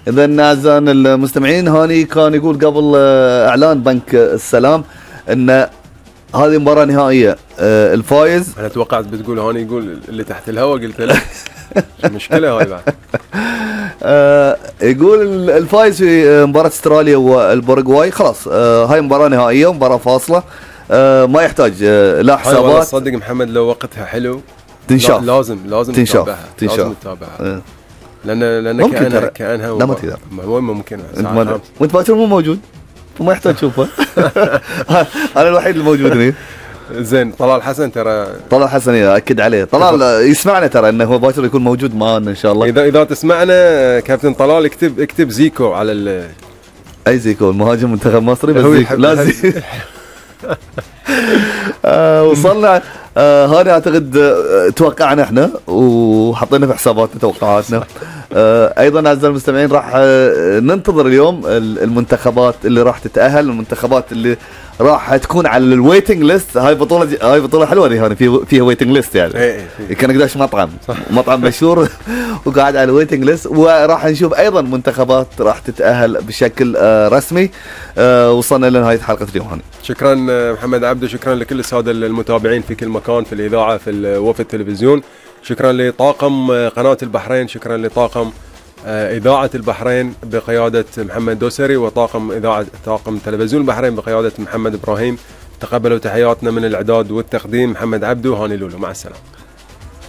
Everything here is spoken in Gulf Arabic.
اذا اعزائنا المستمعين، هاني كان يقول قبل اعلان بنك السلام ان هذه مباراة نهائية، الفايز. انا توقعت بتقول هاني يقول اللي تحت الهواء، قلت له المشكلة هاي بعد. يقول الفايز في مباراة استراليا والباراغواي خلاص، هاي مباراة نهائية ومباراة فاصلة، ما يحتاج لا حسابات. صدق محمد لو وقتها حلو تنشاف، لازم تنشاف. لازم تتابعها. لان كانها لا ما تقدر، وين ممكن وانت باكر مو موجود وما يحتاج تشوفه. انا الوحيد الموجود هنا. زين. طلال حسن ترى، طلال حسن اكد عليه، طلال يسمعنا ترى انه هو باكر يكون موجود معنا ان شاء الله. اذا تسمعنا كابتن طلال اكتب زيكو على اي زيكو المهاجم منتخب مصري، بس زيكو لا وصلنا هاني اعتقد توقعنا احنا وحطينا في حساباتنا توقعاتنا. ايضا اعزائي المستمعين راح ننتظر اليوم المنتخبات اللي راح تتاهل، المنتخبات اللي راح تكون على الويتنج ليست. هاي بطوله حلوه دي هاني، فيها ويتنج ليست يعني. كان قداش مطعم مشهور وقاعد على الويتنج ليست. وراح نشوف ايضا منتخبات راح تتاهل بشكل رسمي. وصلنا لنهايه حلقه اليوم هاني. شكرا محمد عبده، شكرا لكل الساده المتابعين في كل مكان، في الاذاعه، وفي التلفزيون. شكرا لطاقم قناه البحرين، شكرا لطاقم إذاعة البحرين بقيادة محمد دوسري، طاقم تلفزيون البحرين بقيادة محمد إبراهيم. تقبلوا تحياتنا من الإعداد والتقديم محمد عبدو، هاني لولو، مع السلامة.